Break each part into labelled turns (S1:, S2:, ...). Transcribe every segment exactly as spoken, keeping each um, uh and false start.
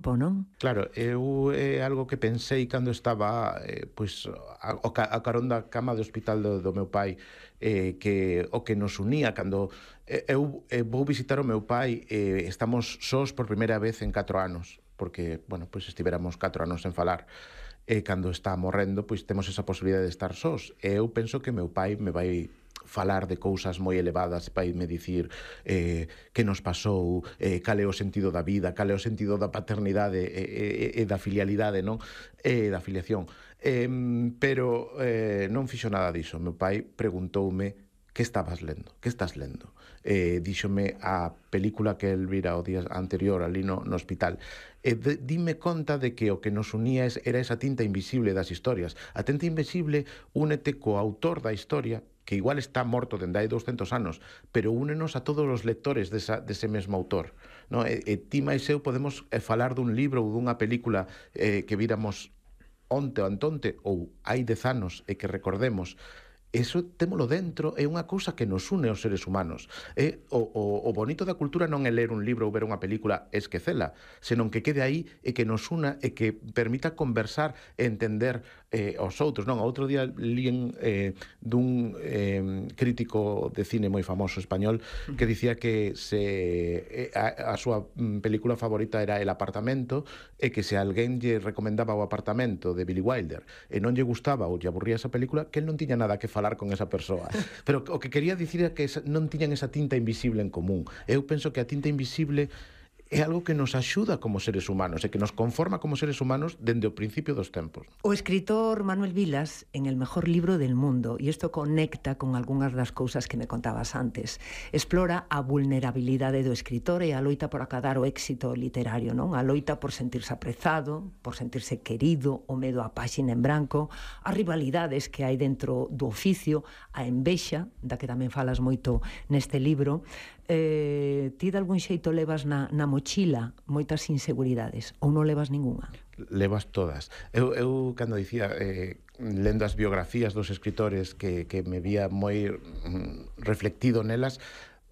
S1: non?
S2: Claro, eu é algo que pensei cando estaba eh, pois, a, o ca, a carón da cama de hospital do, do meu pai, eh, que o que nos unía cando eh, eu eh, vou visitar o meu pai, eh, estamos sós por primeira vez en catro anos, porque, bueno, pois estivéramos catro anos sen falar, e cando está morrendo, pois temos esa posibilidade de estar sós, e eu penso que meu pai me vai falar de cousas moi elevadas, vai me dicir eh, que nos pasou, eh, cal é o sentido da vida, cal é o sentido da paternidade e, e, e da filialidade, non? E da filiación. Eh, pero eh, non fixo nada diso. Meu pai preguntoume que estabas lendo, que estás lendo? Eh, díxome a película que el vira o día anterior ali no, no hospital. E de, dime conta de que o que nos unía era esa tinta invisible das historias. A tinta invisible únete co autor da historia, que igual está morto dende hai douscentos anos, pero únenos a todos os lectores desa, dese mesmo autor. No? E, e ti máis eu podemos eh, falar dun libro ou dunha película eh, que viramos onte ou antonte ou hai dez anos e que recordemos. Eso témolo dentro, é unha cousa que nos une aos seres humanos. É, o, o, o bonito da cultura non é ler un libro ou ver unha película e esquecela, senón que quede aí e que nos una e que permita conversar e entender eh, aos outros. Non, outro día líen eh, dun eh, crítico de cine moi famoso español que dicía que se a, a súa película favorita era El apartamento e que se alguén lle recomendaba o apartamento de Billy Wilder e non lle gustaba ou lle aburría esa película, que el non tiña nada que falar falar con esa persoa. Pero o que quería dicir é que non tiñan esa tinta invisible en común. Eu penso que a tinta invisible é algo que nos axuda como seres humanos e que nos conforma como seres humanos dende o principio dos tempos.
S1: O escritor Manuel Vilas, en El mejor libro del mundo, e isto conecta con algunhas das cousas que me contabas antes, explora a vulnerabilidade do escritor e a loita por acadar o éxito literario, non? A loita por sentirse aprezado, por sentirse querido, o medo á páxina en branco, as rivalidades que hai dentro do oficio, a envexa, da que tamén falas moito neste libro. Eh, ti de algún xeito levas na, na mochila moitas inseguridades ou non levas ningunha?
S2: Levas todas. Eu, eu cando dicía eh, lendo as biografías dos escritores que, que me vía moi mm, reflectido nelas,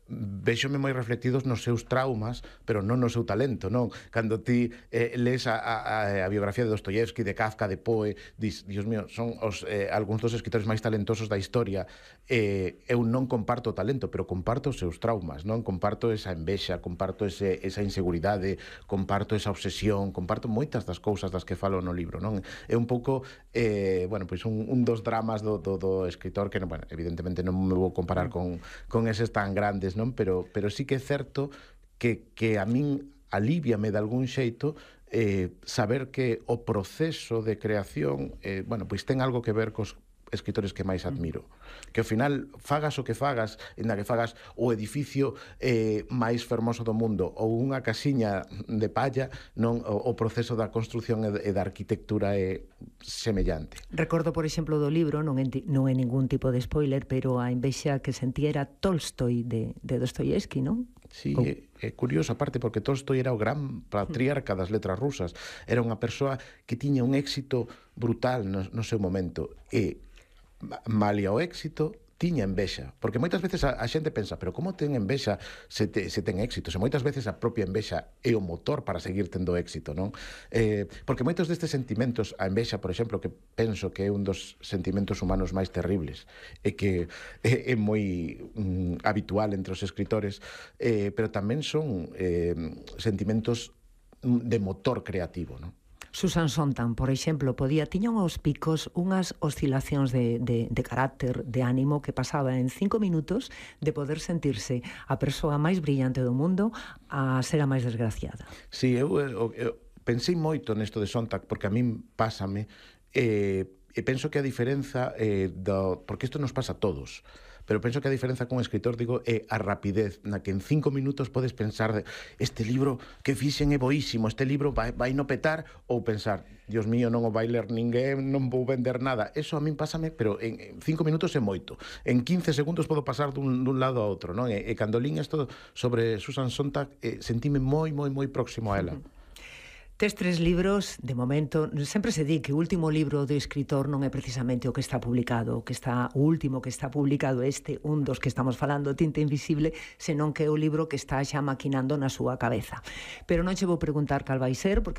S2: véxome moi reflectidos nos seus traumas, pero non no seu talento, non? Cando ti eh, lees a, a, a biografía de Dostoyevsky, de Kafka, de Poe, dis, Dios mío, son os, eh, algúns dos escritores máis talentosos da historia. Eh, eu non comparto o talento, pero comparto os seus traumas, non? Comparto esa envexa, comparto ese, esa inseguridade, comparto esa obsesión, comparto moitas das cousas das que falo no libro, non? É un pouco, eh, bueno, pois un, un dos dramas do, do, do escritor que, bueno, evidentemente non me vou comparar con, con eses tan grandes, non? Pero, pero sí que é certo que, que a min alíviame de algún xeito eh, saber que o proceso de creación eh, bueno, pois ten algo que ver cos escritores que máis admiro, que ao final fagas o que fagas, en que fagas o edificio eh, máis fermoso do mundo ou unha casiña de palla, non, o, o proceso da construción e da arquitectura é semellante.
S1: Recordo, por exemplo, do libro, non é, non é ningún tipo de spoiler, pero a envexa que sentía era Tolstoi de, de Dostoyevsky, non?
S2: Sí, oh. é, é curioso, aparte, porque Tolstoi era o gran patriarca das letras rusas, era unha persoa que tiña un éxito brutal no, no seu momento, e malia o éxito tiña envexa, porque moitas veces a, a xente pensa, pero como ten envexa se, te, se ten éxito? Se moitas veces a propia envexa é o motor para seguir tendo éxito, non? Eh, porque moitos destes sentimentos, a envexa, por exemplo, que penso que é un dos sentimentos humanos máis terribles e que é, é moi mm, habitual entre os escritores, eh, pero tamén son eh, sentimentos de motor creativo, non?
S1: Susan Sontag, por exemplo, podía tiña uns picos, unhas oscilacións de, de, de carácter, de ánimo, que pasaba en cinco minutos de poder sentirse a persoa máis brillante do mundo a ser a máis desgraciada.
S2: Sí, eu, eu, eu pensei moito nesto de Sontag, porque a min pásame, e, e penso que a diferenza eh, do, porque isto nos pasa a todos, pero penso que a diferenza con un escritor, digo, é a rapidez na que en cinco minutos podes pensar de, este libro que fixen é boísimo, este libro vai, vai no petar, ou pensar, Dios mío, non o vai ler ninguén, non vou vender nada. Eso a min pásame, pero en, en cinco minutos é moito. En quince segundos podo pasar dun, dun lado a outro, non? E, e cando lín isto sobre Susan Sontag, eh, sentime moi, moi, moi próximo a ela.
S1: Uh-huh. Tes tres libros, de momento, sempre se di que o último libro do escritor non é precisamente o que está publicado, o que está o último que está publicado este, un dos que estamos falando, Tinta Invisible, senón que é o libro que está xa maquinando na súa cabeza. Pero non che vou preguntar cal vai ser, porque